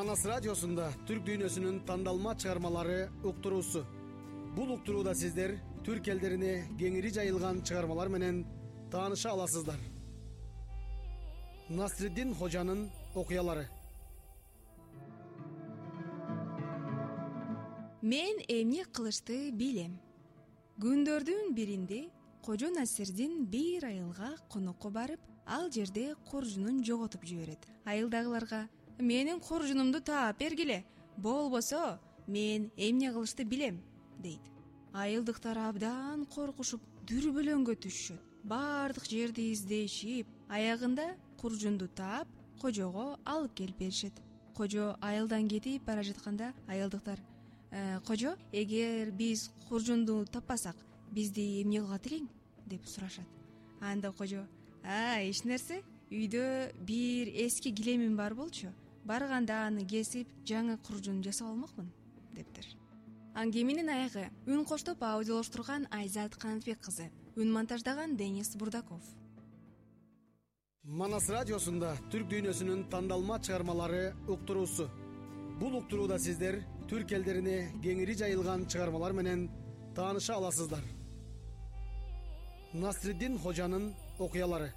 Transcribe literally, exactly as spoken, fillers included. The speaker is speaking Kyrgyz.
Манас радиосунда түрк дүйнөсүнүн тандалма чыгармалары уктуруусу. Бул уктурууда сиздер түрк элдерине кеңири жайылган чыгармалар менен тааныша аласыздар. Насриддин Хожанын окуялары. Мен эмне кылышты билем. Күндөрдүн биринде Кожо Насирдин бир айылга конокко барып, ал жерде куржунун жоготуп жиберет. Айылдагыларга: "Менин куржунумду таап бергиле, болбосо мен эмне кылышты билем", дейт. Айылдыктар абдан коркушуп, дүрбөлөңгө түшүшөт. Бардык жерди издешип, аягында куржунду таап, кожого алып келип беришет. Кожо айылдан кетип бара жатканда айылдыктар: «Э, кожо, эгер биз куржунду таппасак, бизди эмне кылат элең?" деп сурашат. Анда кожо: "А, эч нерсе, үйдө бир эски килемим бар болчу. Барганда аны кесип, жаңы куржун жасап алмакмын", дептир. Аңгеменин аягы үн коштоп аудиолоштурган Айзат Канатбек кызы, үн монтаждаган Денис Бурдаков. Манас радиосунда түрк дүйнөсүнүн тандалма чыгармалары уктуруусу. Бул уктурууда сиздер түрк элдерине кеңири жайылган чыгармалар менен тааныша аласыздар. Насриддин Хожанын окуялары.